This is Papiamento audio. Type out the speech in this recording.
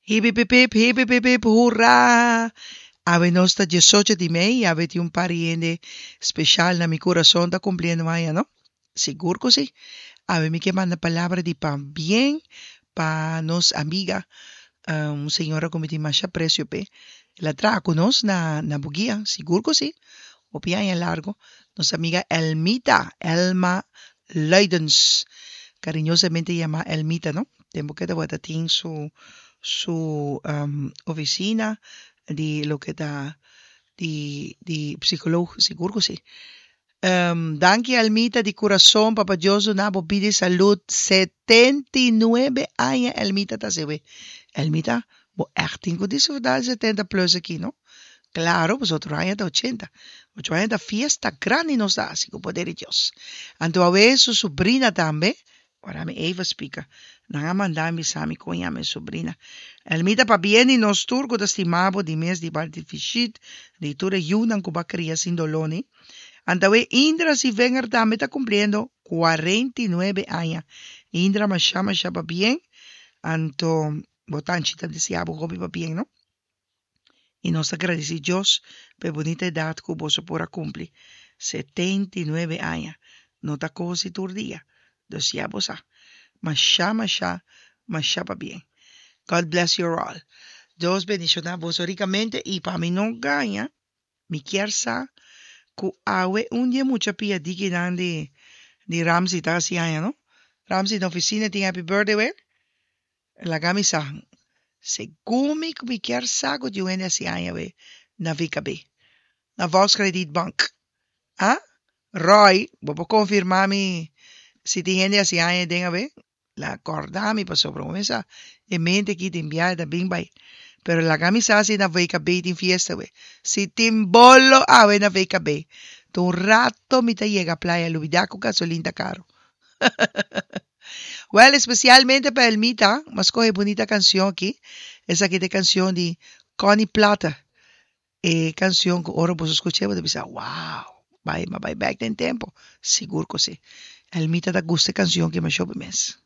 Hipipipip, hipipipip, hurra! Awe nos ta diesocho di mei i awe tin un par di hende speshal na mi kurason ta kumpliendo aña, no? Sigur ku si. Awe mi ke manda palabra di pabien pa nos amiga, un señora ku mi tin masha apresio p'e. El a traha ku nos na na Bugia, sigur ku si, hopi aña largu. Nos amiga Elmita, Elma Luidens, kariñosamente yamá Elmita, no? Tempu ku e tabata tin su su ofisina di loke ta di di psikoloog, sigur ku si. Danki Elmita di kurason papa Dios duna bo bida i salud 79 aña Elmita ta haci we Elmita bo echt tin ku disfruta di 70 plus aki no klaro pasobra otro aña ta 80 otro aña ta fiesta grandi nos ta haci ku poder di Dios anto awe su subrina tambe Ora mi Eva spika, nan a manda mi bisa mi kon yama e sobrina. Elmita pabien di nos tur ku ta stima bo di mes di parti Fishit, di tur e yunan ku bo a kria sin doló ni. Antawe Indra Sivenger tambe ta kumpliendo 49 aña. Indra masha masha pabien, anto bo tanchi ta deseá bo hopi pabien no. I nos ta gradisí Dios pa e bunita edat ku boso por a kumpli, 79 aña. No ta kos di tur dia. Dus ya bo sa. Mashá, mashá, mashá pabien. God bless your all. Dios bendishoná boso rikamente i pa mi no gaña, Mi kier sa ku awe un di e mucha pia dikinan di di Ramsey ta hasi aña no. Ramsey na ofisina tin happy birthday we? Laga mi sa. Segun mi ku mi kier sa ku tin un hende hasi aña we na VKB. Na Volkskredietbank. Ah? Roy, bo por konfirma mi si tin hende hasi aña den awe? La corda mi pasobra bo mesa e mente aki tin biahe ta bin bai. Pero laga mi sa si na VKB tin fiesta we. Si tin bolo awe na VKB. Ta un rato mi ta yega playa lubida cu gasolin ta caro. Well especialmente pa Elmita mi a scoge bunita cancion aki. Esaki ta e cancion di Connie Plata. E cancion cu ora boso scuch'e bo ta bisa wow bai mi a bai bek den tempo. Sigur cu si. Elmita ta gusta e cancion aki masha hopi mes.